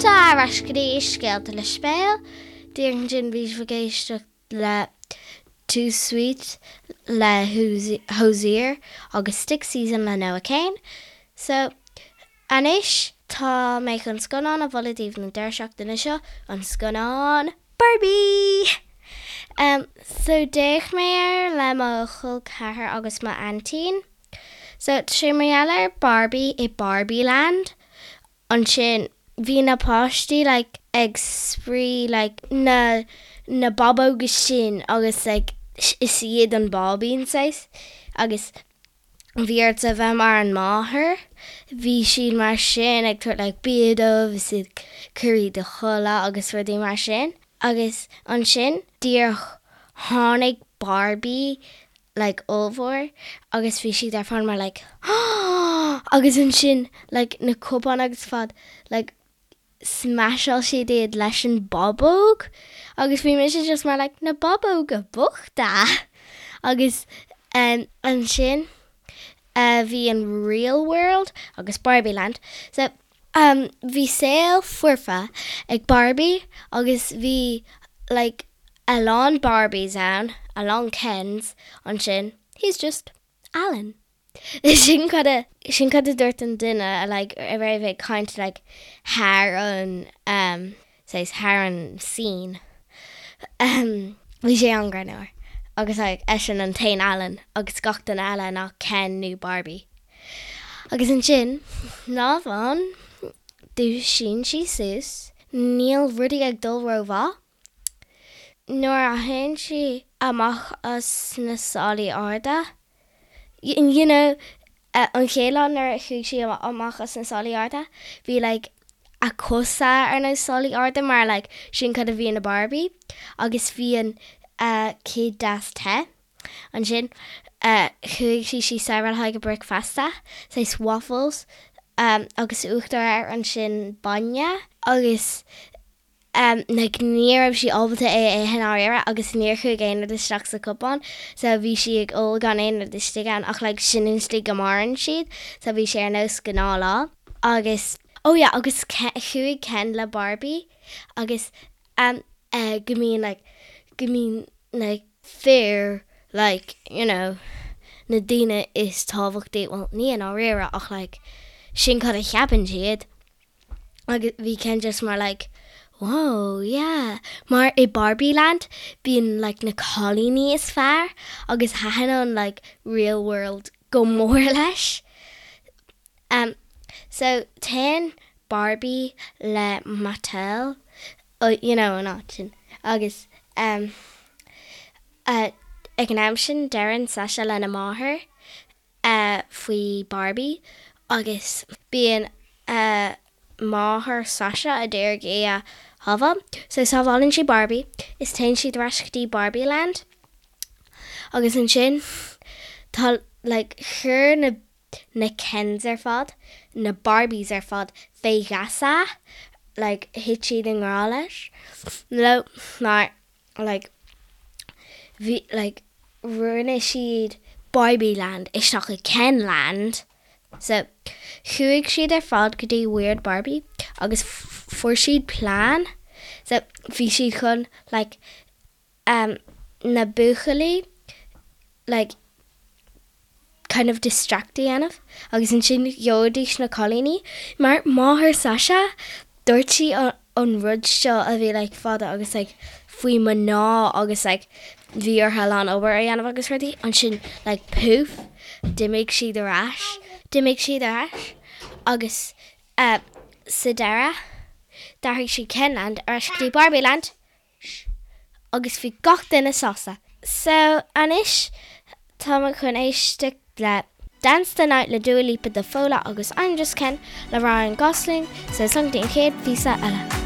Fáilte ar ais go dtí Scéalta le Sibéal. Díreach ansin bhí sibh ag éisteacht le Too Sweet le Hozier agus Stick Season le Noah Kahan. So, anois tá mé chun scannán a mholadh daoibh don deireadh seachtaine seo, an scannán Barbie! Um, so d'fhéach mé air le mo chol ceathar agus mo aintín. So tá sé mar gheall ar Barbie i Barbie Land. Ansin bhí na páistí like ag spraoi like na na bábóga sin agus like is iad an báibín saghas agus bhí ort a bheith mar an máthair. Bhí siad mar sin ag tabhairt like bia dóibh is ag cur iad a chodladh agus rudaí mar sin. Agus ansin díreach tháinig Barbie like ollmhór agus bhí siad ar fad mar like agus ansin like na cupáin agus fad like smasháil siad iad leis an bábóg agus bhí mise just mar like na bábóga bochta agus um, ansin uh, bhí an real world agus Barbie land so um, bhí saol foirfe ag Barbie agus bhí like a lán Barbies ann, a lán Kens ansin, he's just Alan. Sin cad a, sin cad a dúirt an duine a like a raibh ag caint like thar an um saghas thar an scene. Um bhí sé an-ghreannmhar agus like eisean an t-aon Alan agus gach duine eile ná Ken nó Barbie. Agus ansin, lá amháin, dúisíonn sí suas, níl rudaí ag dul rómhaith. Nuair a théann sí amach as na sálaí arda, you know, an chéad lá nuair a chuaigh sí amach as na sálaí arda, bhí like a cosa ar na sálaí arda mar like sin cad a bhí ina Barbie agus bhí an cid deas te. Ansin chuaigh sí síos le haghaidh a bricfeasta, saghas waffles agus uachtar air ansin bainne agus like ní raibh sí ábalta é a ithe i ndáiríre agus níor chuaigh aon rud isteach sa cupán so bhí sí ag ól gan aon rud istigh ann ach like sin an slí go maireann siad so bhí sé ar nós gnáthlá agus oh yeah agus chuaigh Ken le Barbie agus um eh go mbíonn like go mbíonn like fir like you know na daoine is tábhachtaí well ní i ndáiríre ach like sin cad a cheapann siad. Agus bhí Ken just mar like whoa yeah mar i Barbie Land bíonn like na cailíní is fearr agus thaitin an like real world go mór leis. Um so téann Barbie le Mattel you know an áit sin agus um uh ag an am sin deireann Sasha lena máthair faoi Barbie agus bíonn máthair Sasha a d'iarraidh í a shábháil. So sábhálann sí Barbie is téann siad ar ais go dtí Barbie Land agus ansin tá like chuir na na Kens ar fad, na Barbies ar fad fé gheasa like thit siad i ngrá leis leo mar like bhí like rinne siad Barbie Land isteach i Ken Land so chuaigh siad ar fad go dtí Weird Barbie agus fuair siad plean so bhí siad chun like um na buachaillí like kind of distract a dhéanamh agus ansin gheobhaidís na cailíní mar máthair Sasha dúirt sí an rud seo a bhí like fada agus like faoi mná agus like bhí orthu a lán obair a dhéanamh agus rudaí ansin like poof d'imigh siad ar ais d'imigh siad ar ais agus eh sa deireadh d'athraigh siad Kenland ar ais go dtí Barbieland Agus bhí gach duine sásta. So, anois tá mé chun éisteacht le Dance the Night le Dua Lipa do Fódhla agus I'm Just Ken le Ryan Gosling, so slán go dtí an chéad phíosa eile.